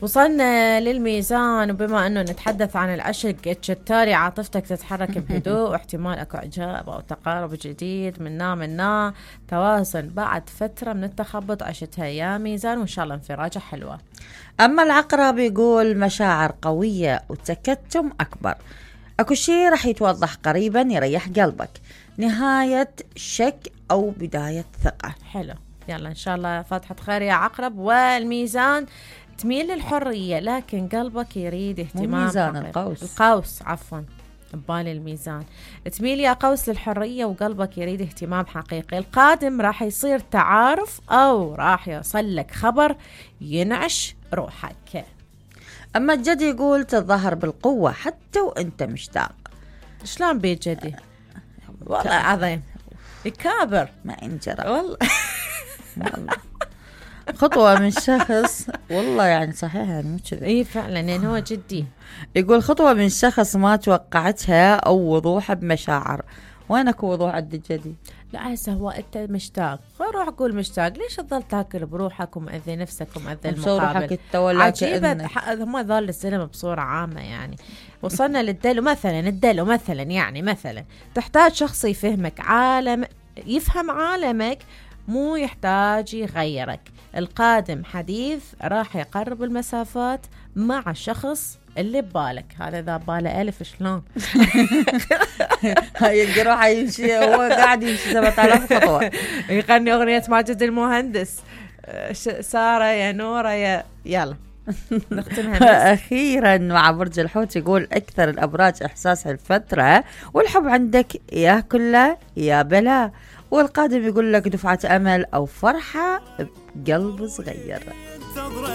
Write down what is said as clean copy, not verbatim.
وصلنا للميزان، وبما أنه نتحدث عن العشق الشتالي عاطفتك تتحرك بهدوء، واحتمال أكو إعجاب أو تقارب جديد منا تواصل بعد فترة من التخبط عشتها يا ميزان، وإن شاء الله انفراجة حلوة. أما العقرب يقول مشاعر قوية وتكتم أكبر، أكو شيء رح يتوضح قريبا يريح قلبك، نهاية شك أو بداية ثقة. حلو، يلا إن شاء الله فاتحة خير يا عقرب. والميزان تميل للحرية لكن قلبك يريد اهتمام. ميزان القوس عفوا ببالي الميزان. تميل يا قوس للحرية وقلبك يريد اهتمام حقيقي. القادم راح يصير تعارف أو راح يوصل لك خبر ينعش روحك. أما الجدي يقول تظهر بالقوة حتى وانت مشتاق. شلون بيت جدي؟ والله عظيم يكابر ما انجرى والله. خطوة من شخص، والله يعني صحيح يعني مو كذا. اي فعلا يعني هو جدي. يقول خطوة من شخص ما توقعتها او وضوح بمشاعر. وينك وضوح عند الجدي؟ لا هسه هو انت مشتاق، روح قول مشتاق، ليش تظل تاكل بروحك ومأذي نفسك ومأذي المقابل؟ عجيبة هم ظل الزلمة بصورة عامة يعني. وصلنا للدلو مثلا يعني مثلا تحتاج شخص يفهمك يفهم عالمك، مو يحتاج يغيرك. القادم حديث راح يقرب المسافات مع الشخص اللي ببالك. هذا إذا باله ألف شلون يلقى روحه يمشي هو قاعد يمشي 7000 خطوة. يغني أغنية ماجد المهندس، سارة يا نورة يا يلا نختمها. أخيرا مع برج الحوت يقول أكثر الأبراج إحساس الفترة والحب عندك يا كله يا بلا. والقادم يقول لك دفعة أمل أو فرحة بقلب صغير.